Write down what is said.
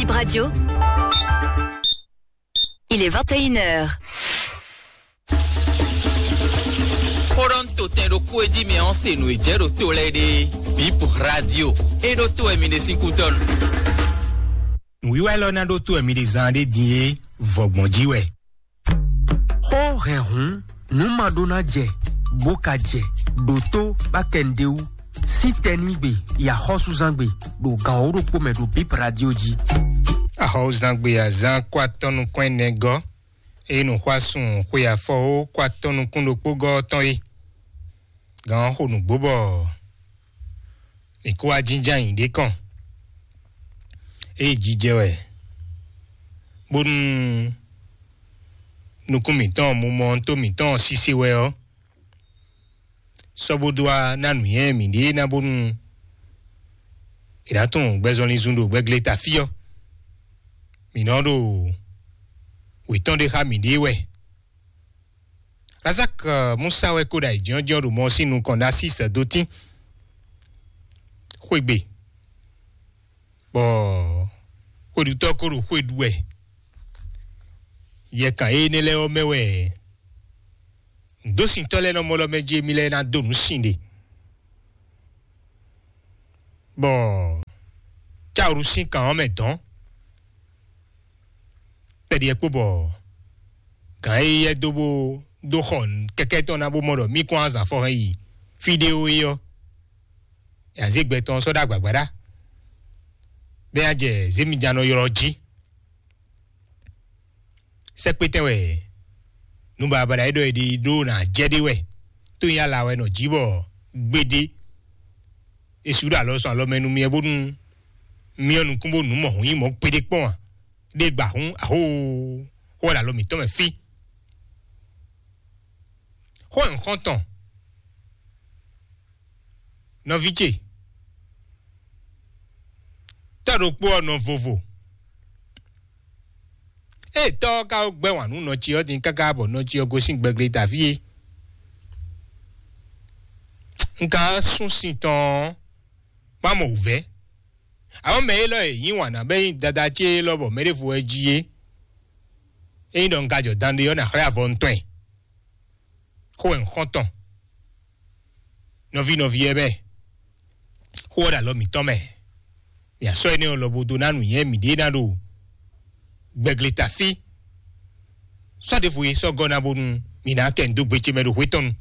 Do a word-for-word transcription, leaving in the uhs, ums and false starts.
Bip Radio. Il est vingt et une heures. Xó ɖɔ ń to tɛn ɖokpó e jí mi ɔ́ se nǔ e jɛ ɖo to lɛ́ɛ ɖe. Bip Radio. É ɖó to wɛ mi ɖe sín kútɔ́nu. Nǔwiwa élɔ́ ná ɖó to wɛ mi ɖe zán ɖé din é, vɔ̌gbɔn jí wɛ. Xó hɛn hǔn, nǔ ma ɖó ná jɛ, bó ka jɛ, ɖo tó bá kɛ nǔɖé wú. Sín tɛnígbe, yi axɔ́súzángbe, ɖo gan wǒ ɖokpó mɛ ɖo Bip Radio jí. Axɔ́súzángbe azán kó atɔ́ nukún ɛnɛ gɔ́, eye nǔxwásún xwe afɔwó kó atɔ́ nukún ɖokpó gɔ́ ɔ́ tɔn é. Gan ɔ́ xo nǔgbó bɔ mǐ kó wá jínjɔ́n ayǐ ɖé kɔn. Ée jijɛ wɛ, bónú nukún mǐtɔn, mumɔ tó mǐtɔn ɔ́ sise wɛ ɔ́, sɔ́ bó dó wá ná nǔnywɛ́ mǐɖée ná bónú è nǎ tunwun gbɛzɔnlin zun ɖo gbɛgle ta fí ɔ́, mǐ nɔ ɖo wětɔn ɖé xá mǐɖée wɛ. Razak Musa wɛ kó ɖo ayǐjínjɔ́n ɖo mɔ sín nukɔn ná sí sɛ̌dótín. Xwegbe, bɔ xweɖutɔ́ ko ɖo xwe ɖu wɛ. Yɛkan énɛ́ lɛ́ɛ ɔ́ mɛ wɛ nǔdósintɔ́ lɛ́ɛ nɔ mɔ lɔ mɛ jí émí lɛ́ɛ ná dó nǔ sin ɖe, bɔ cáwǔɖu sín kan ɔ́ mɛ dɔ̌n. Tɛɖiɛ kpó bɔ gǎn e yɛ dó bó dó xɔ kɛkɛ́ tɔn ná bó mɔ ɖɔ mí kɔn azǎn fɔ hɛn yi fí ɖé ó é ɔ́, azégbɛ tɔn sɔ́ ɖó agbǎgbá ɖá, bɛ́ ná jɛ zěmijannɔ ylɔ́ jí. Sɛ́kpétɛn wɛ nǔbabada e ɖɔ è ɖe ɖó ná jɛ ɖé wɛ, tó nyí ala wɛ nɔ jí bɔ gbéɖé. È sixú ɖo alɔ sɔn alɔ mɛ nú myɛ bónú myɔ nukún bó nǔ mɔ hǔn nyí mɔ̌ gbéɖé kpɔ́n ǎ. Ɖé gba hǔn ahóoo, xó wɛ ɖo alɔ mǐtɔn mɛ fí. Xó nyǐxɔ́ntɔn, nɔví ce, tɔ́ ɖokpó ɔ́ nɔ vovo. Ée tɔ́ ɔ́ ka gbɛ́ wǎn nú nɔ ce ɔ́ din káká bɔ nɔ ce ɔ́ gosín gbɛgblétaví é, un ka sú sin tɔn ɔ́, má mɔ wǔvɛ́. Amɔ̌ mɛ élɔ́ e yǐ wǎn ná bɛ́ nyí dada ce élɔ́ bɔ mɛ ɖěvo wɛ jí é, ényí ɖɔ un ka jɔ dan ɖé ɔ́, nǎ xlɛ́ avɔ un tɔn ɛ. Xó wɛ un xɔ́n tɔn. Nɔví nɔví ɛ bɛɛ, xó ɔ́ ɖo alɔ mǐtɔn mɛ. Mǐ asɔ́ énɛ́ ɔ́ lɔbo dó ná nǔnywɛ́ mǐɖée ná ɖo gbɛgleta fí. Sɔ́ ɖěvo e sɔ́ gɔ́ ná bónú mǐ ná kɛ nǔ dó gbe ce mɛ ɖo hwetɔ́nu.